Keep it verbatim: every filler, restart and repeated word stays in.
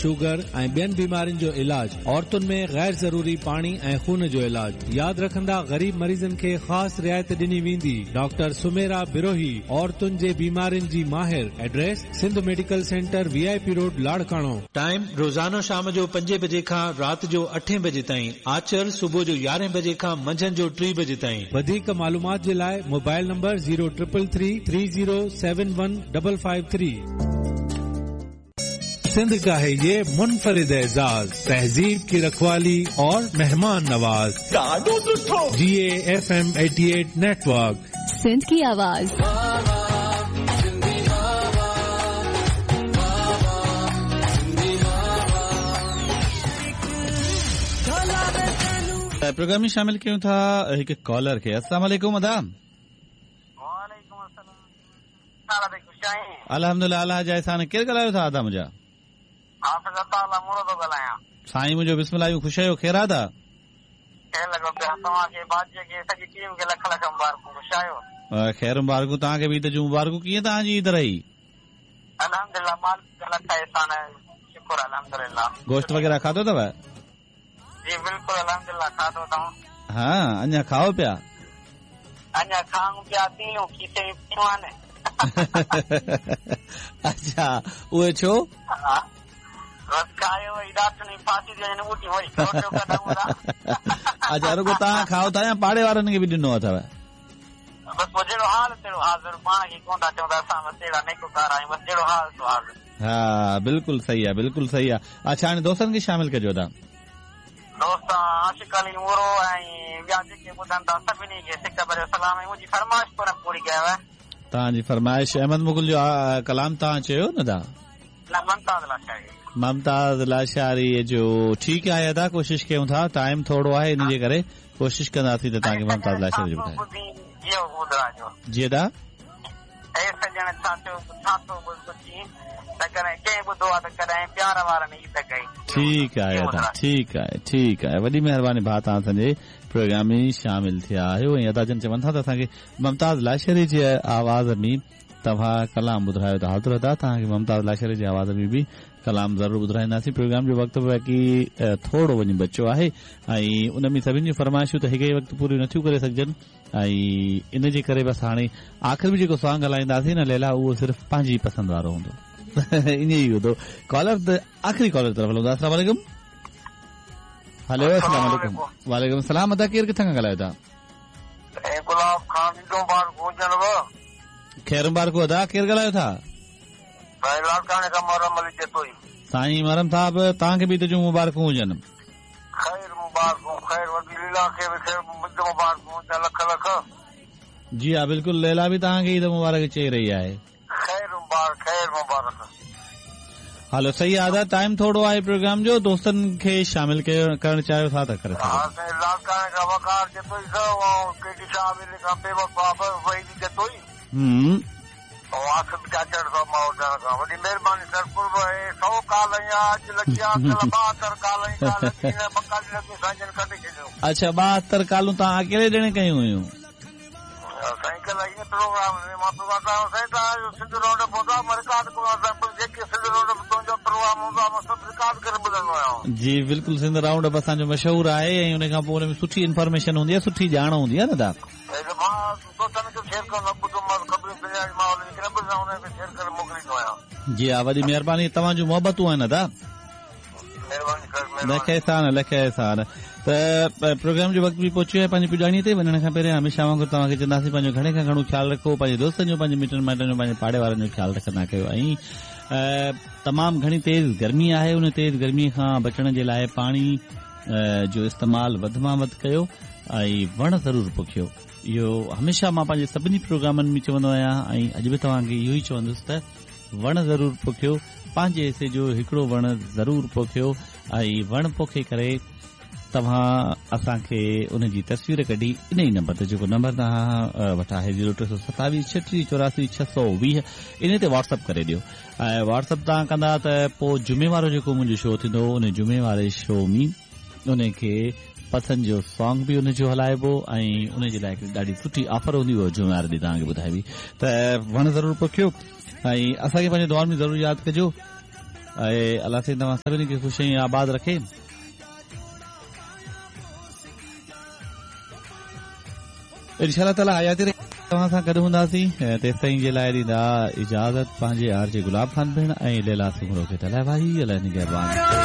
Sugar ऐं ॿियनि बीमारियुनि जो इलाज। औरतुनि में गैर ज़रूरी पाणी ऐं खून जो इलाज। यादि रखंदा, ग़रीब मरीज़नि खे ख़ासि रिआयत ॾिनी वेंदी। डॉक्टर सुमेरा बिरोही, औरतुनि जे बीमारियुनि जी माहिर। Address Sindh medical centre, V I P road, Larkana. Time रोज़ानो शाम जो पंजे बजे खां राति जो अठे बजे ताईं। आचर सुबुह जो यारहें बजे खां मंझंदि जो टे बजे ताईं। वधीक मालूमात जे लाइ mobile number zero triple three three zero seven one double five three. Sindh का है ये मुनफरिद एजाज, तहजीब की रखवाली और मेहमान Nawaz. G A F M eighty eight network, Sindh की आवाज। प्रोग्राम में शामिल कयूं था हिकु कॉलर खे। अस्सलाम वालेकुम अदा। वालेकुम अस्सलाम। अल्हम्दुलिल्लाह, अल्लाह जा एहसान। केरु ॻाल्हायो था अदा मुंहिंजा? हाफ़िज़ अताउल्लाह मोरो थो ॻाल्हायां। साईं मुंहिंजो बिस्मिल्लाह, ख़ुशि आहियो? ख़ैर आहे? ख़ैर लॻो पियो। तव्हांखे, बादशाह खे, सॼी टीम खे लख लख मुबारकूं। ख़ुशि आहियो? ख़ैर मुबारकूं, तव्हांखे बि ईद जूं मुबारकूं। कीअं तव्हांजी ईद रही? अल्हम्दुलिल्लाह, मालिक जा लख एहसान, शुक्र अल्हम्दुलिल्लाह। गोश्त वग़ैरह खाधो अथव? जी बिल्कुलु, अल्हम्दुलिल्लाह खाधो अथऊं। हा, अञा खाओ पिया? अञा खाऊं पिया, तीलियूं खीसे में पियूं आहिनि। अच्छा, उहे छो? बसि खायो वरी ॾाटुनि फांसी थी वञनि, ऊटी वरी कढूं था। अच्छा, रुगो तव्हां खाओ था या पाड़े वारनि खे बि ॾिनो अथव? बसि पोइ जहिड़ो हाल तहिड़ो हाज़िर, पाण खे कोन था चऊं त असां बसि अहिड़ा नेकोकार आहियूं, बसि जहिड़ो हाल सो हाज़िर। हा, बिल्कुलु सही आहे, बिल्कुलु सही आहे। अच्छा, हाणे दोस्तनि खे शामिल कजो अदा। दोस्त आशिक अली मोरो ऐं ॿिया जेके ॿुधनि था सभिनी खे सिक भरियो सलाम। ऐं मुंहिंजी फरमाइश कोन पूरी कयव? तव्हांजी फरमाइश अहमद मुगल जो कलाम तव्हां चयो न दा? न, मुमताज़ लाशारी। मुमताज़ लाशारी जो, ठीकु आहे अदा, कोशिशि कयूं था। टाइम थोरो आहे, इन जे करे कोशिशि कंदासीं त तव्हांखे मुमताज़ लाशारी जो ॿुधायो। जी अदा, ठीकु आहे अदा, ठीकु आहे, ठीकु आहे। वॾी महिरबानी भाउ, तव्हां असांजे प्रोग्राम में शामिल थिया आहियो। ऐं अदा जन चवनि था त असांखे मुमताज़ लाशारी जे आवाज़ में तव्हां कलाम ॿुधायो त हाज़िर अदा, तव्हांखे मुमताज़ लाशारी जे आवाज़ में बि कलाम ज़रूरु ॿुधाईंदासीं। प्रोग्राम जो वक़्तु बाक़ी थोरो वञी बचियो आहे ऐं उन में सभिनी जूं फरमाइशूं त हिकु ई वक़्तु पूरियूं नथियूं करे सघिजनि ऐं इन जे करे बसि हाणे आख़िर में जेको सॉन्ग हलाईंदासीं न लैला, उहो सिर्फ़ु पंहिंजी पसंदि वारो हूंदो, ईअं ई हूंदो। कॉलर त आख़िरी कॉलर तरफ़ हलूं था। अस्सलाम वालेकुम। हेलो, अस्सलाम वालेकुम। वालेकुम सलाम। अदा, केरु किथां खां ॻाल्हायो था? गुलाब खान। ख़ैर मुबारकूं अदा, केरु ॻाल्हायो था? लाड़काणे खां मुहर्रम अली जतोई। साईं मुहर्रम साहब, तव्हांखे बि ईद जूं मुबारकूं हुजनि। ख़ैर मुबारकूं, ख़ैर वॾी लीला खे बि ख़ैर मुबारकूं, लख लख। जी हा, बिल्कुलु, लैला बि तव्हांखे ईद मुबारक चई रही आहे। ख़ैर मुबारक, ख़ैर मुबारक। हलो, सही आहे अदा, टाइम थोरो आहे प्रोग्राम जो, दोस्तनि खे शामिल करणु चाहियो था त करे सघो। लाड़काणे खां वकार जतोई साहब ऐं केडी साहब खां बेवफ़ा वहीद जतोई। हम्म, आसिफ चाचड़ साहब माहौल खां। वॾी महिरबानी सर, कुर्ब। सौ काल अॼु लॻी आहे, ॿाहतरि काल ॿ काल लॻी साईं जन कढी छॾियो। अच्छा, ॿाहतरि कालूं तव्हां अकेले ॼणे कयूं हुयूं? साईं कल्ह ईअं प्रोग्राम में मां प्रोग्राम साईं तव्हांजो सिंध रोड पहुतो आहे, मां रिकॉर्ड कंदो आहियाँ, जेके सिंध रोड तुंहिंजो प्रोग्राम हूंदो आहे मां सभु रिकॉर्ड करे ॿुधंदो आहियाँ। जी बिल्कुलु, सिंध राउंड अप असांजो मशहूरु आहे ऐं उन खां पोइ उन में सुठी इन्फॉर्मेशन हूंदी आहे, सुठी ॼाण हूंदी आहे न दा? दोस्तनि खे शेयर कंदो ॿुधो, मां ख़बरूं दुनिया जी माहौल न ॿुधंदो, हुनखे शेयर करे मोकिलींदो आहियाँ। जी हा, वॾी महिरबानी, तव्हांजूं मोहबतूं आहिनि अदा। महिरबानी सर, लख एहसान, लख एहसान। त प्रोग्राम जो वक़्तु बि पहुची वियो आहे पंहिंजी पुॼाणीअ ते। वञण खां पहिरियां हमेशह वांगुरु तव्हांखे चवंदासीं पंहिंजो घणे खां घणो ख़्यालु रखो, पंहिंजे दोस्तनि जो, पंहिंजे मिटनि माइटनि जो, पंहिंजे पाड़े वारनि जो ख़्यालु रखंदा कयो। ऐं तमामु घणी तेज़ गर्मी आहे, उन तेज़ गर्मीअ खां बचण जे लाइ पाणी जो इस्तेमालु वधि मां वधि कयो ऐं वण ज़रूरु पोखियो। इहो हमेशह मां पंहिंजे सभिनी प्रोग्रामनि में चवंदो आहियां ऐं अॼु बि तव्हांखे इहो ई चवंदुसि त वण ज़रूरु पोखियो, पंहिंजे हिसे जो हिकिड़ो वण ज़रूरु पोखियो ऐं वण पोखे करे तव्हां असांखे उन जी तस्वीर कढी इन ई नंबर ते, जेको नंबर तव्हां वटि आहे ज़ीरो टे सौ सतावीह छटीह चौरासी छह सौ वीह, इन ते व्हाट्सएप करे ॾियो। ऐं व्हाट्सएप तव्हां कंदा त पोइ जुमे वारो जेको मुंहिंजो शो थींदो उन जुमे वारे शो में उनखे पसंदि जो सॉन्ग बि उनजो हलाइबो ऐं उन जे लाइ हिकिड़ी ॾाढी सुठी ऑफर हूंदी, उहा जुमे वारे ॾींहुं तव्हांखे ॿुधाइबी। त वण ज़रूरु पोखियो ऐं असांखे पंहिंजे दुआउनि में ज़रूरु यादि कजो। ऐं अलाह साईं तव्हां सभिनी खे ख़ुशि ऐं आबाद रखे। इंशा ताला हयाती तव्हां सां गॾु हूंदासीं, तेसि ताईं जे लाइ ॾींदा इजाज़त पंहिंजे आर जे गुलाब खान भेण ऐं लैला सुमरो खे। त अलाह भाई, अलाह निगहबान।